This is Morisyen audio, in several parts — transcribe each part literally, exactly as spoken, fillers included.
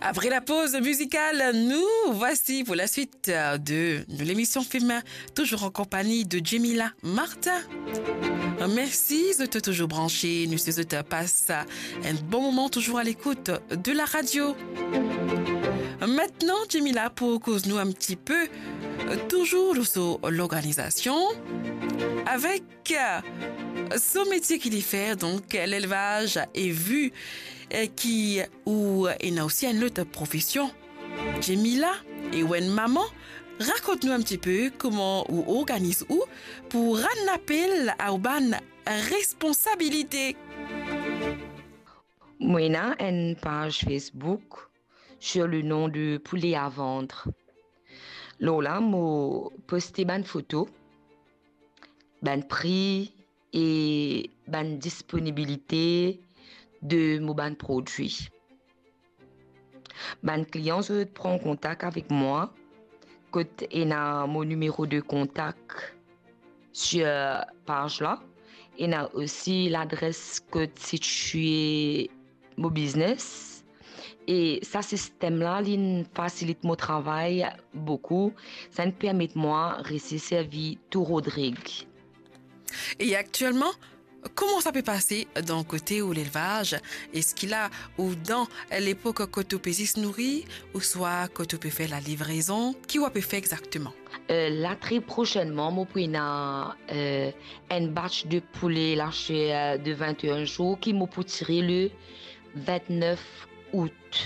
Apre la poz mizikal, nou vwasi pou la swit de nou lemision Fim, touzour an konpagni de Jemila Martin. Mersi zot touzour branse, nou swet zot pas enn bon moman touzour a lekout de la radio. Aster, Jemila pou koz nou enn tipe, touzour lor so lorganizasion, avek so metie ki li fer, donk lelvaz, e vi ki ou ena osi enn lot profesion. Jemila, e ou enn mama, rakont nou enn tipe kouma ou organiz ou pou rann lapel a ou bann responsabilite. Mo ena enn paz Facebook sur le nom de Poulet à Vendre. Lor la, mo poste bann foto, bann pri e bann disponibilite de mo bann prodwi. Bann klian, zot pran kontak avek mwa, kot ena mo nimero de kontak sur paz la, ena osi ladres kot sitie mo biznes. E sa sistem la, li'nn fasilit mo travay boukou, sa'nn permet mwa resi servi tou Rodrig. E aktielman, kouma sa pe pase dan kote ou lelvaz? Eski la ou dan lepok kot ou pe zis nouri, ouswa kot ou pe fer lalivrezon? Ki ou pe fer exakteman? Eh, la, tre prosennman, mo pou ena, eh, enn batch de poule laser de vinteen zour ki mo pou tire le vintnef out.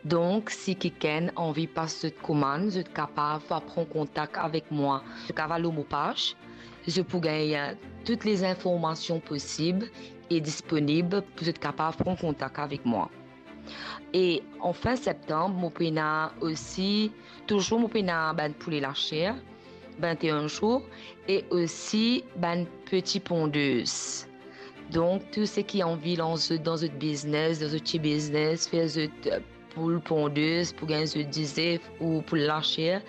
Donk, si kikenn anvi pas zot komann, zot kapav pran kontak avek mwa. Zot kapav al lor mo paz, zot pou gagn tou lezinformasion posib e disponib pou zot kapav pran kontak avek mwa. E an fin septanm, mo pou ena osi, touzour mo pou ena bann poule laser, vinteen zour, e osi bann peti pondez. Donk, tou seki anvi lans zot dan zot biznes, dan zot ti biznes, fer zot, eh, poul pondez pou gagn zot dizef ou poul laser,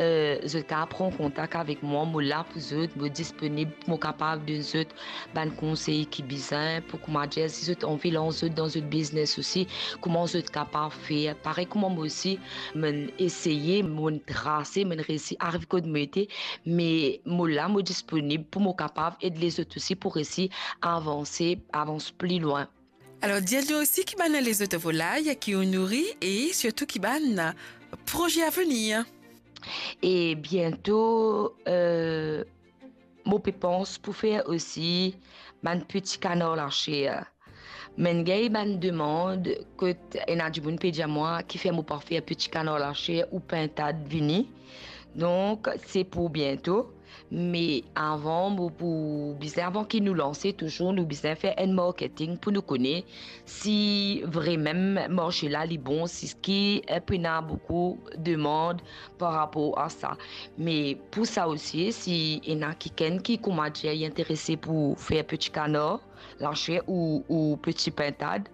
eh, zot kapav pran kontak avek mwa, mo la pou zot, mo disponib, mo kapav donn zot bann konsey ki bizin pou, koumadir, si zot anvi lans zot dan zot biznes osi, kouma zot kapav fer. Parey kouma mo osi, mo'nn eseye, mo'nn trase, mo'nn resi ariv kot mo ete, me mo la, mo disponib pou mo kapav ed lezot osi pou resi avanse, avans pli lwin. Alor, dir nou osi ki bann lezot volay ki ou nouri e sirtou ki bann proze avenir. E biento, eh, mo pe pans pou fer osi bann peti kanar laser. Mo'nn gagn bann demann kot ena dimoun pe dir mwa kifer mo pa fer peti kanar laser ou pintad vini. Donk, se pou biento. Me avan, mo pou bizin, avan ki nou lanse, touzour nou bizin fer enn marketing pou nou kone si vremem marse la li bon, si ki, eh, pou ena boukou demann par rapor a sa. Me pou sa osi, si ena kikenn ki, koumadir, li interese pou fer peti kanar laser ou, ou peti pintad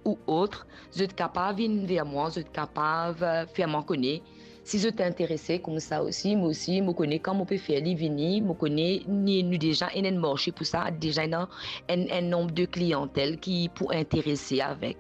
ou ot, zot kapav vinn ver mwa, zot kapav, eh, fer mwa kone si zot interese koumsa osi. Mo osi, mo kone kan mo pe fer li vini, mo kone ni, nou deza ena enn marse pou sa, deza ena enn, enn nonb de kliantel ki pou interese avek.